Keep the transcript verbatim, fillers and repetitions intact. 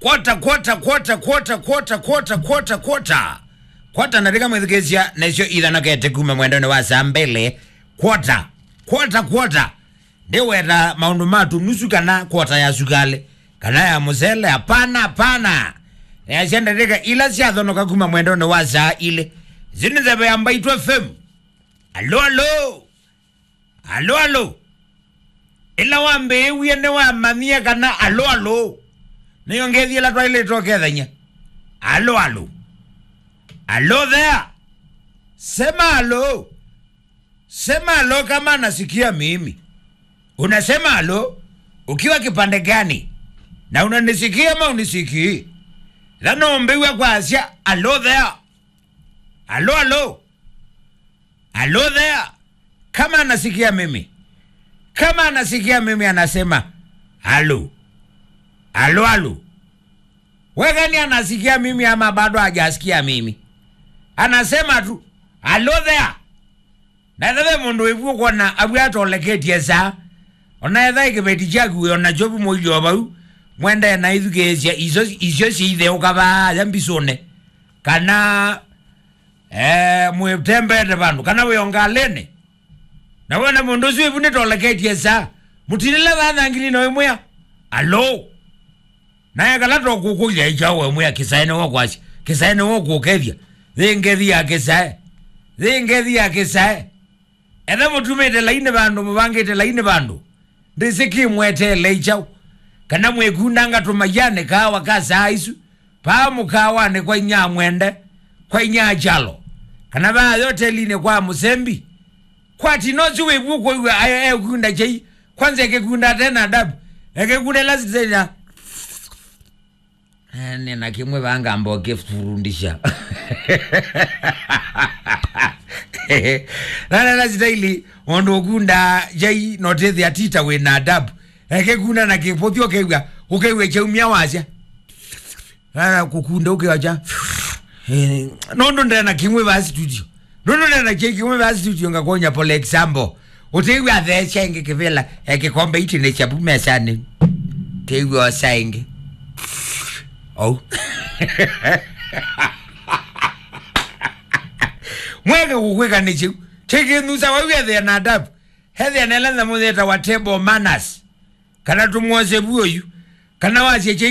Kwota, kwota, kwota, kwota, kwota, kwota, kwota, kwota. Kwota na rika mwĩthukĩĩsya, nĩsyo ithanokete kuma mwendonĩ wa saa mbĩlĩ. Kwota, kwota, kwota. Ndiweta maũndũ ma tũnusu kana kwota ya sukalĩ, kana ya mũsele, hapana, hapana. Nĩasya ndatĩka ila syathonoka kuma mwendonĩ wa saa ilĩ. Isu nĩ nzeve ya Mbaitũ F M. Alo, alo. Alo, alo. Ĩla wambĩĩwie nĩwamanyie kana alo, alo. Nĩyo ngethi ĩla twaĩlĩte ũkethany'a. Alo, alo. Alo there. Sema alo. Sema alo kama nasikia mimi. Unasema alo ukiwa kipande gani? Na unanisikia ama unisikii? Thano mbĩw'a kwasya alo there. Alo, alo. Alo there. Kama anasikia mimi. Kama anasikia mimi anasema alo. Alo, alo. Wekani anasikia mimi ama bado hajasikia mimi? Anasema tu alo there. Na ĩtha ve mũndũ wĩvu ũkwona avu atoleketye saa, ona etha ĩkĩveti kyaku wĩ ona kyovu mũilyo vau, mwendee na ithukĩĩsya isyo, isyo syĩitheũka vaaya mbisũne, kana eh, mwĩtembeete vandũ, kana wĩ o ngalĩnĩ, na wona mũndũ ũsu wĩvu nĩtoleketye saa, mũtilĩla vaa thangili na wĩmwĩa, alo. Naye kala tokũkũlya ikyaũ wemwĩa kĩsae nĩwe kwasya, kĩsae nĩwe kũkethya. Yĩ ngethi ya kĩsae. Yĩ ngethi ya kĩsae. Etha mũtumĩte lainĩ vandũ, mũvangĩte lainĩ vandũ, ndĩsĩ kĩmweteele ikyaũ. Kana mwĩkundanga tũmaianĩ kaawa ka saa isu, paa mũkaawanĩ kwa inya mwende, kwa inya kyalo, kana vaa yotelinĩ kwa mũsembi. Kwati no si wĩvu kwĩw'a ayo ekunda kyei. Kwanza ekĩkunda tena adabu. Ekĩkunda ĩla sitena. Eh, nĩ na kĩmwe vangamba ũkĩfurundisha. Nana na sitaili, mũndũ ũkunda kyei notethya tita wĩ na adabu. Ekĩkunda na kĩpũthi ũkew'a, ũkew'a kyaumya wasya. Ara kũkunda ũkĩocha. Eh, nũndũ ndena kĩmwe va studio. Nũndũ ndena kyei kĩmwe va studio ngakonya, for example. Ũtĩw'a atheesya ĩngĩ kĩvĩla, eh, kĩkombe itĩ nĩ kyavu mesanĩ. Kĩw'a osa ĩngĩ. Ou. Mweke kũkwĩka nĩ kĩu. Kĩkĩnusa wau ethĩa na adabu. Hethĩa nela nthamo yĩtawa table manners. Kana tũmwose vuoyu. Kana wasya kyei